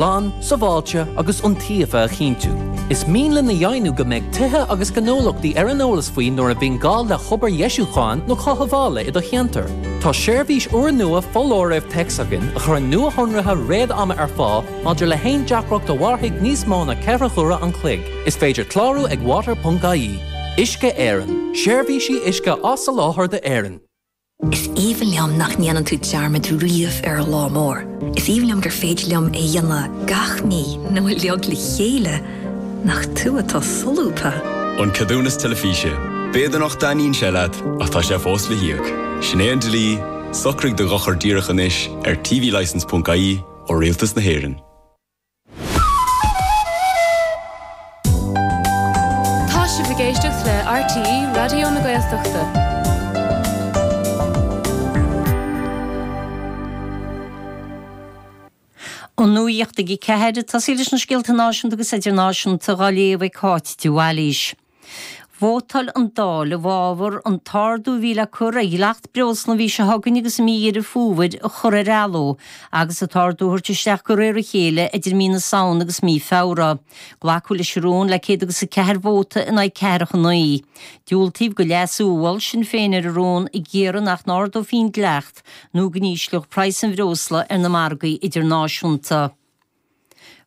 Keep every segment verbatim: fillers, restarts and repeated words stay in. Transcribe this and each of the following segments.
Glan, sábháilte agus iontaofa a chinntiú. Is mian linn a dheimhniú go mbeidh tithe agus gnólachtaí ar an eolas faoi nuair a bhíonn gá le hobair dheisiúcháin nó cothabhála i do cheantar. Tá seirbhís úrnua foláirimh téacs againn a chuireann nuashonruithe réad-ama ar fáil maidir le haon deacracht a mhairfidh níos mó ná ceithre huaire an chloig. Is féidir clárú ag water.ie. Uisce Éireann, seirbhísí uisce á soláthar d'Éirinn. Is aoibhinn liom nach ndéanann tú dearmad riamh ar an lá mór. Is aoibhinn liom gur féidir liom é a dhéanamh gach mí nó uilig le chéile nach tú atá solúbtha. An ceadúnas teilifíse. B'fhéidir nach dtaitníonn sé leat ach tá sé fós le híoc. Sin é an dlí, socraigh do dhochar díreach anois ar tvlicence.ie ó Rialtas na hÉireann. Tá sibh ag éisteacht le RTÉ Raidió na Gaeltachta. An nuacht ag a ceathair ag tosaí leis na scéalta náisiúnta agus idirnáisiúnta á léamh ag Cáit de Bhailís. Vótáil an Dáil i bhfabhar an t-ardú a bhí le cur ar dhleacht breosla an mhí seo chugainn agus i mí Dheireadh Fómhair a chur ar athló agus an t-ardú a thabhairt isteach de réir a chéile idir mí na Samhna agus mí Feabhra. Glacadh leis an rún le céad agus a ceathair vóta in aghaidh ceathracha naoi. Diúltaíodh do leasú a mhol Sinn Féin ar an rún ag iarraidh nach n-ardófaí an dleacht nó go n-ísleodh praghas an bhreosla ar na margaí idirnáisiúnta.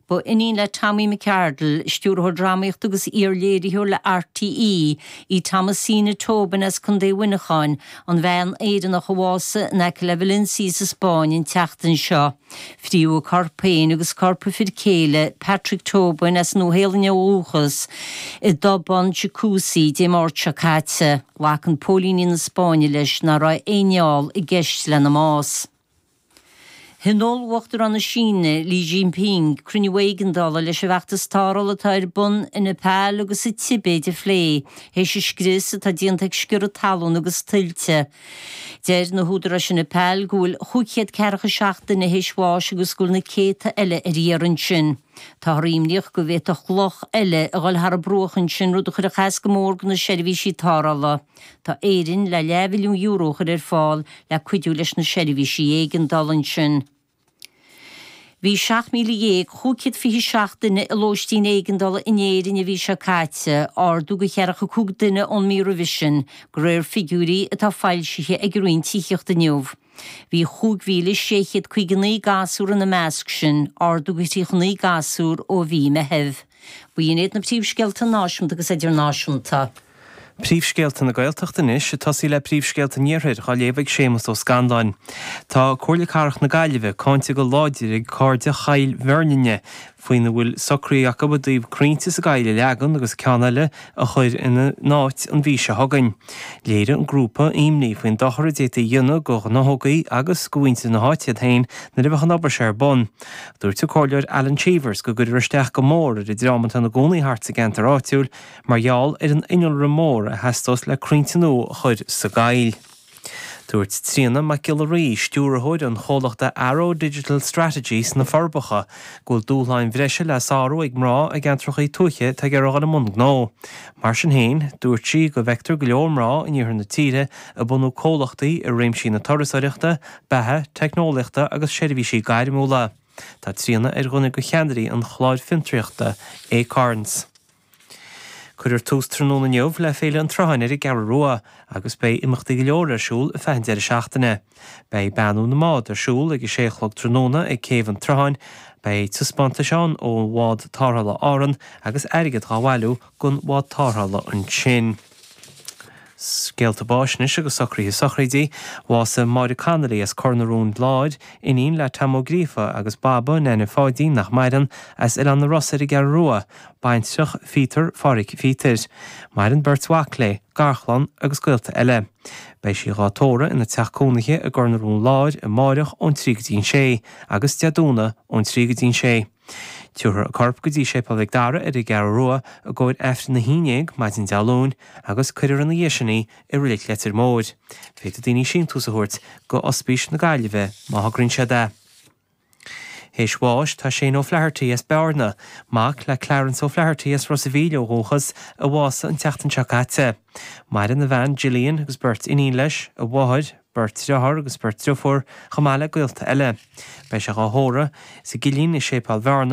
Ba iníon le Tommy McArdle, stiúrthóir drámaíochta agus iar-léiritheoir le RTÉ, í Thomasina Tobin as Contae Mhuineacháin, an bhean Éireannach a bhásaigh in aice le Valencia sa Spáinn an tseachtain seo. Fríodh a corp féin agus corp a fir céile, Patrick Tobin as Nua-Shéalainn ó dhúchas, i dtobán jacuzzi Dé Máirt seo caite. Glacann póilíní na Spáinne leis nach raibh aon fheall i gceist lena mbás. Thionóil Uachtarán na Síne, Xi Jinping, cruinniú éigeandála leis an bhfeachtas tarrthála atá ar bun i Neipeal agus sa Tibéid a phlé, théis an scrios atá déanta ag sciorradh talún agus tuilte. Deir na húdaráis i Neipeal go bhfuil chúig chéad ceathracha seacht duine théis bháis agus go bhfuil na céadta eile ar iarraidh ansin. Táthar imníoch go bhféadfadh loch eile a dhul thar an bruach ansin, rud a chuirfeadh as go mór do na seirbhísí tarrthála. Tá Éirinn le leathmhilliún euro a chur ar fáil le cuidiú leis na seirbhísí éigeandála ansin. Bhí seacht míle dhéag chúig chéad fiche seacht duine i lóistín éigeandála in Éirinn an mhí seo caite, ardú de cheathracha cúig duine ón mí roimhe sin, de réir figiúirí atá foilsithe ag an Roinn Tithíochta inniu. Bhí chúig mhíle sé chéad caoga naoi gasúr ina measc sin, ardú de thríocha naoi gasúr ó mhí Meithimh. B'in iad na príomhscéalta náisiúnta agus idirnáisiúnta. Príomhscéalta na Gaeltachta anois, ag tosaí le príomhscéalta an Iarthair, á léamh ag Séamus Ó Scanláin. Tá Comhairle Cathrach na Gaillimhe cáinte go láidir ag Cairde Choill Bheirninne faoina bhfuil socraithe acu i dtaobh crainnte sa gcoill a leagan agus ceann eile a chur ina n-áit an mhí seo chugainn. Léirigh an grúpa imní faoin dochar a d'fhéadfaí a dhéanamh do ghnáthógaí agus do mhuintir na háite iad féin nuair a bheadh an obair seo ar bun. Dúirt an Comhairleoir Alan Cheevers go gcuirfear isteach go mór ar an dream atá ina gcónaí thart sa gceantar áitiúil mar gheall ar an innealra mór a theastós le crainnte nua a chur sa gcoill. Dúirt Tríona Mac Giolla Rí, stiúrthóir an chomhlachta Arrow Digital Strategy sna Forbacha, go bhfuil dúshláin bhreise le sárú ag mná i gceantracha tuaithe atá ag iarraidh dul i mbun gnó. Mar sin féin, dúirt sí go bhfeictear go leor mná in iarthar na tíre ag bunú comhlachtaí i réimsí na turasóireachta, beatha, teicneolaíochta agus seirbhísí gairmiúla. Tá Tríona ar dhuine de cheannairí an chláir fiontraíochta Acorns. Cuirfear tús tráthnóna inniu le Féile an tSrutháin ar an gCeathrú Rua agus beidh imeachtaí go leor ar siúl ar feadh an deireadh seachtaine. Beidh beannú na mbád ar siúl ag a sé a chlog tráthnóna ag Céibh an tSrutháin, beidh taispeántais ann ó Bhád Tarrthála Árann agus airgead dhá bhailiú don bhád tarrthála ansin. Scéalta báis anois agus socruithe sochraidí. Bhásaigh Máire Connolly as Cor na Rón Láir, iníon le Tom Ó Gríofa agus Baba, Neaine Pháidín, nach maireann, as Oileán na Rosa ar an gCeathrú Rua, baintreach Phíotair Phádhraic Phíotair. Maireann beirt mhac léi, garchlann agus gaolta eile. Beidh sí dhá tórramh ina teach cónaithe i gCor na Rón Láir amáireach ón trí go dtí an sé agus Dé Domhnaigh ón trí go dtí an sé. Tabharfar a corp go dtí Séipéal Mhic Dara ar an gCeathrú Rua i gcomhair Aifreann a haon déag maidin Dé Luain agus cuirfear ina dhiaidh sin í i Reilig Leitir Móir. Féadfaidh daoine síntiús a thabhairt go Ospís na Gaillimhe má thograíonn siad é. Théis bháis tá Shane O'Flaherty as Bearna, mac le Clarence O'Flaherty as Ros a' Mhíl ó dhúchas, a bhásaigh an tseachtain seo caite. Maireann a bhean Gillian agus beirt iníon leis, a mháthair, beirt deartháir agus beirt deirfiúr, chomh maith le gaolta eile. Beidh sé dhá thórramh sa gCillín i Séipéal Bhearna,